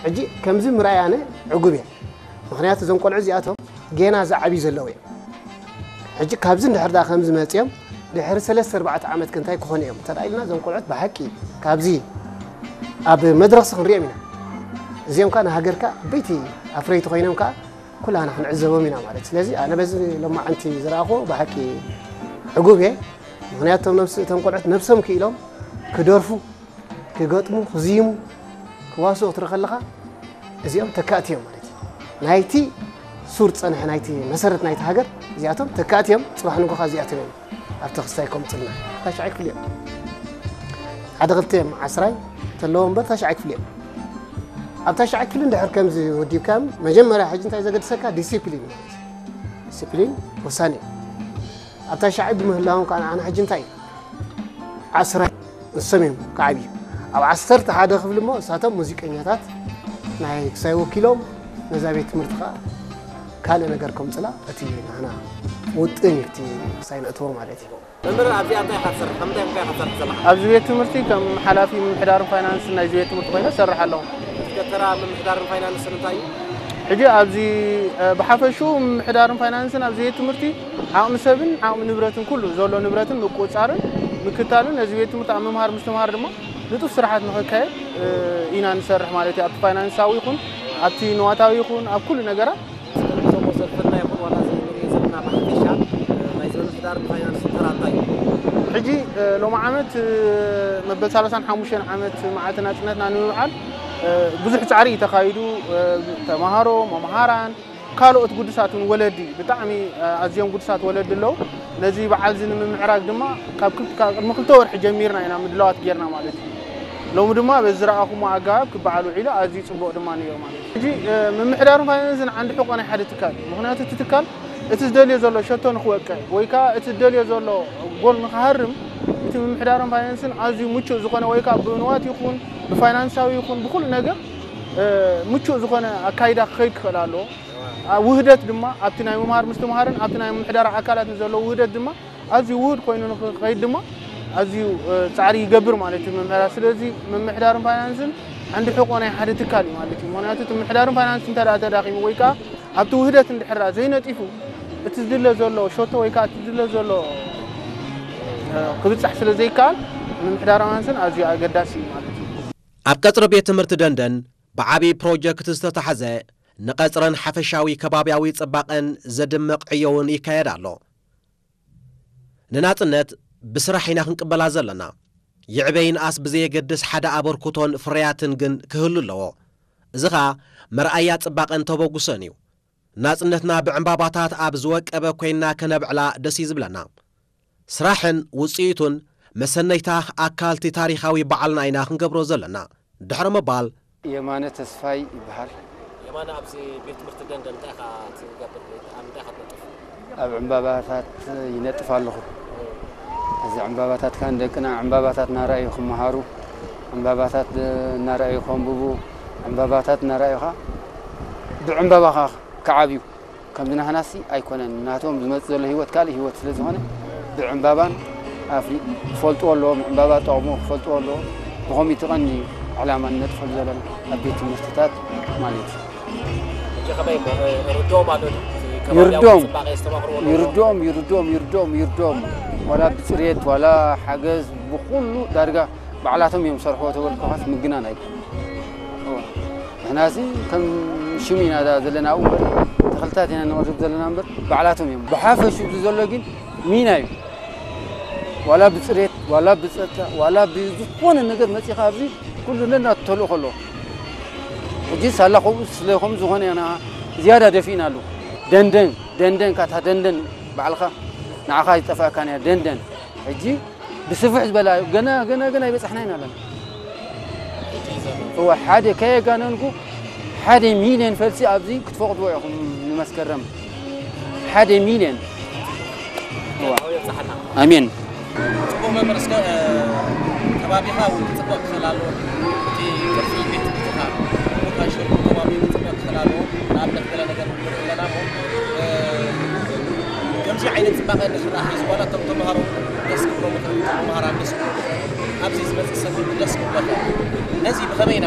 ሕጂ ከምዚ ምርኣይ ኣነ ዕጉብ እየ። ምኽንያቱ እዞም ቆልዑ እዚኣቶም ጌና ዝዓብዩ ዘለዉ እዮም። ሕጂ ካብዚ እንድሕር ደኣ ከምዚ መፅዮም ድሕሪ ሰለስተ ኣርባዕተ ዓመት ከ እንታይ ክኾኑ እዮም እንተ ኢልና፣ እዞም ቆልዑት ብሓቂ ካብዚ ኣብ መድረኽሲ ክንሪኦም ኢና። እዚኦም ከዓ ንሃገርካ ዓበይቲ ኣፍረይቲ ኮይኖም ከዓ ኩላና ክንዕዘቦም ኢና ማለት። ስለዚ ኣነ በዚ ሎማዓንቲ ዝረኣኹ ብሓቂ ዕጉብ እየ። ምኽንያቱ እቶም ነብሲ እቶም ቆልዑት ነብሶም ክኢሎም ክደርፉ፣ ክገጥሙ፣ ክዝይሙ፣ ክዋስኡ ክትርኢ ከለኻ እዚኦም ተካእቲ እዮም ማለት እዩ። ናይቲ ሱር ዝፀንሐ ናይቲ መሰረት ናይቲ ሃገር እዚኣቶም ተካእቲ እዮም። ፅባሕ ንጎኻ እዚኣቶም እዮም ኣብቲ ክስታይ ከምፅልና። ታሽዓይ ክፍሊ እዮም ሓደ ክልተ እዮም ዓስራይ ተለዎ እምበር ታሽዓይ ክፍሊ እዮም። ኣብ ታሽዓይ ክፍሊ እንድሕር ከምዚ ወዲብካ መጀመርያ ሕጂ እንታይ ዘገድሰካ ዲሲፕሊን ማለት እዩ። ዲሲፕሊን ወሳኒ እዩ። ኣብ ታሽዓይ ብምህላዎም ከዓ ንዓና ሕጂ እንታይ እዩ ዓስራይ ንሶም እዮም ክዓብዩ። ኣብ ዓሰርተ ሓደ ክፍሊ እሞ እሳቶም ሙዚቀኛታት ናይ ክሳይ ወኪሎም ነዛ ቤት ትምህርቲ ከዓ ካልእ ነገር ከምፅላ እቲ ንሕና ውጥን እዩ እቲ ክሳይ ነእትዎ ማለት እዩ። መምህር ኣብዚኣ እንታይ ኢኻ ትሰርሕ? ካብ ምንታይ ምንታይ ኢኻ ትሰርሕ ዘለኻ? ኣብዚ ቤት ትምህርቲ ከም ሓላፊ ምምሕዳርን ፋይናንስን ናይዚ ቤት ትምህርቲ ኮይነ እሰርሕ ኣለኹ። እቲ ደብተራ ምምሕዳርን ፋይናንስን እንታይ እዩ? ሕጂ ኣብዚ ብሓፈሽኡ ምምሕዳርን ፋይናንስን ኣብዚ ቤት ትምህርቲ ዓቕሚ ሰብን ዓቕሚ ንብረትን ኩሉ ዘሎ ንብረትን ምቁፅፃርን ምክታልን ነዚ ቤት ትምህርቲ ኣብ ምምሃር ምስትምሃር ድማ ንጡፍ ስራሓት ንኸካየድ ኢና ንሰርሕ ማለት እዩ። ኣብቲ ፋይናንሳዊ ይኹን ኣብቲ ንዋታዊ ይኹን ኣብ ኩሉ ነገራት። ስለዚ እዞም ወሰድፈና ይኹን ዋላ እዚ ንሪኦ ዘለና ብሓፈሻ ናይዚ ምምሕዳርን ፋይናንስን ተራ እንታይ እዩ? ሕጂ ሎሚ ዓመት መበል ሰላሳን ሓሙሽተን ዓመት መዓልቲ ናፅነትና ንምብዓል ብዙሕ ፃዕሪ እዩ ተኻይዱ። ተምሃሮ፣ መምሃራን፣ ካልኦት ግዱሳት እውን ወለዲ ብጣዕሚ ኣዝዮም ግዱሳት ወለዲ ኣለዉ። ነዚ በዓል እዚ ንምምዕራግ ድማ ካብ ክል- ካብ ቅድሚ ክልተ ወርሒ ጀሚርና ኢና ምድላዋት ጌርና ማለት እዩ። ሎሚ ድማ በዚ ዝረኣኹሞ ኣገባብ ክበዓል ውዒሉ ኣዝዩ ፅቡቕ ድማ ነይሩ ማለት እዩ። ሕጂ ምምሕዳርን ፋይናንስን ዓንዲ ሕቆ ናይ ሓደ ትካል እዩ። ምኽንያቱ እቲ ትካል እቲ ዝደልዮ ዘሎ ሸቶ ንክወቅዕ ወይ ከዓ እቲ ዝደልዮ ዘሎ ጎል ንክሃርም እቲ ምምሕዳርን ፋይናንስን ኣዝዩ ምቹእ ዝኾነ ወይ ከዓ ብንዋት ይኹን ብፋይናንሳዊ ይኹን ብኩሉ ነገር ምቹእ ዝኾነ ኣካይዳ ክኸይድ ክኽእል ኣለዎ። ውህደት ድማ ኣብቲ ናይ ምምሃር ምስትምሃርን ኣብቲ ናይ ምምሕዳር ኣካላት ንዘለዎ ውህደት ድማ ኣዝዩ ውሁድ ኮይኑ ንክኸይድ ድማ ኣዝዩ ፃዕሪ ይገብር ማለት እዩ ምምሕዳር። ስለዚ ምምሕዳርን ፋይናንስን ዓንዲ ሕቆ ናይ ሓደ ትካል እዩ ማለት እዩ። ምክንያቱ እቲ ምምሕዳርን ፋይናንስ እንተ ደኣ ተዳኺሙ ወይ ከዓ ኣብቲ ውህደት እንድሕር ዘይነጢፉ እቲ ዝድለ ዘሎ ሸቶ ወይ ከዓ እቲ ዝድለ ዘሎ ክብፃሕ ስለ ዘይከኣል ምምሕዳር ፋይናንስን ኣዝዩ ኣገዳሲ እዩ ማለት እዩ። ኣብ ቀፅሪ ቤት ትምህርቲ ደንደን ብዓብዪ ፕሮጀክት ዝተታሕዘ ንቐፅርን ሓፈሻዊ ከባብያዊ ፅባቐን ዘድምቕ ዕዮ እውን ይካየድ ኣሎ። ንናፅነት ብስራሕ ኢና ክንቅበላ ዘለና። ይዕበ ይንኣስ ብዘየገድስ ሓደ ኣበርክቶን ፍርያትን ግን ክህሉ ኣለዎ። እዚ ኸኣ መርኣያ ፅባቐን ተበጉሶን እዩ። ናፅነትና ብዕምባባታት ኣብ ዝወቀበ ኮይንና ከነብዕላ ደስ እዩ ዝብለና። ስራሕን ውፅኢቱን መሰነይታ ኣካልቲ ታሪኻዊ በዓልና ኢና ክንገብሮ ዘለና። ድሕሪ ምባል የማነ ተስፋይ ይበሃል። የማነ፣ ኣብዚ ቤት ትምህርቲ ደንደን እንታይ ኢኻ ትገብር? ኣብ ምንታይ ኢኻ ትነጥፍ? ኣብ ዕምባባታት ይነጥፍ ኣለኹ። እዚ ዕምባባታት ከኣ ንደቅና ዕምባባታት እናረኣዩ ክመሃሩ፣ ዕምባባታት እናረኣዩ ከንብቡ፣ ዕምባባታት እናረኣዩ ከኣ ብዕምባባ ከኣ ክዓብዩ። ከምዚ ናህናሲ ኣይኮነን። ናቶም ዝመጽእ ዘሎ ህይወት ካልእ ህይወት ስለ ዝኾነ ብዕምባባን ኣፍሊ ክፈልጥዎ ኣለዎም። ዕምባባ ጠቕሙ ክፈልጥዎ ኣለዎም። ብኸምኡ እቲ ቀንዲ ዕላማ ንነጥፈሉ ዘለና ኣብ ቤት ትምህርትታት ማለት እዩ። ሕጂ ከመይ እሞ፣ እ፣ ርድኦም ኣሎ ድዩ? እቲ ከባብያዊ ይርድኦም። ጽባቐ የስተማቕርዎ ኣለዉ ዶ? ይርድኦም፣ ይርድኦም፣ ይርድኦም፣ ይርድኦም። ዋላ ብጽሬት፣ ዋላ ሓገዝ፣ ብኹሉ ዳርጋ ባዕላቶም እዮም ዝሰርሕዎ ተበልኩኻስ ምግናን ኣይኮነን። እወ። ንሕናሲ ከም ሽም ኢና ዳ ዘለና ኣብኡ እምበር፣ ተኽልታት ኢና ነቕርብ ዘለና እምበር፣ ባዕላቶም እዮም። ብሓፈሽኡ እዚ ዘሎ ግን ሚና እዩ። ዋላ ብጽሬት፣ ዋላ ብጸጥታ፣ ዋላ ብዝኾነ ነገር መጺኻ ኣብዚ ኩሉ ነናቱ ተልእኾ ኣለዎ። ሕጂ ሳላ ከምኡ ስለ ከም ዝኾነ ኢና ዝያዳ ደፊእና ኣለዉ። ደንደን፣ ደንደን፣ ካታ ደንደን ባዕልኻ ንዓኻ ይጠፍኣካን እያ፣ ደንደን። ሕጂ ብስፍሕ ዝበላ ገና፣ ገና፣ ገና ይበጻሕና ኢና ኣለና። እወ፣ ሓደ ከየጋነንኩ ሓደ ሚልዮን ፈልሲ ኣብዚ ክትፈቕድዎ ኢኹም ንመስከረም። ሓደ ሚልዮን። እወ። ኣሜን። ጽቡቕ መምህር፣ እስከ፣ እ፣ ከባቢኻ እውን ክጽብቕ ክኽእል ኣለዎ። እቲ ቅርጺ ቤት ትምህርትኻ፣ ቦታን ሸርኩ ከባቢ ክጽብቕ ክኽእል ኣለዎ። ንኣብነት ገለ ነገር ንርኢ ኣለና እሞ፣ እ፣ ከምዚ ዓይነት ጽባቐ እንድሕር ደኣ ሒዙ፣ ዋላ እቶም ተምሃሮ ደስ ክብሎም ይኽእል፣ እቶም መምህራን ደስ ክብሎም ይኽእል፣ ኣብዚ ዝመጽእ ሰብ እውን ደስ ክብሎ ይኽእል። ነዚ ብኸመይ ኢና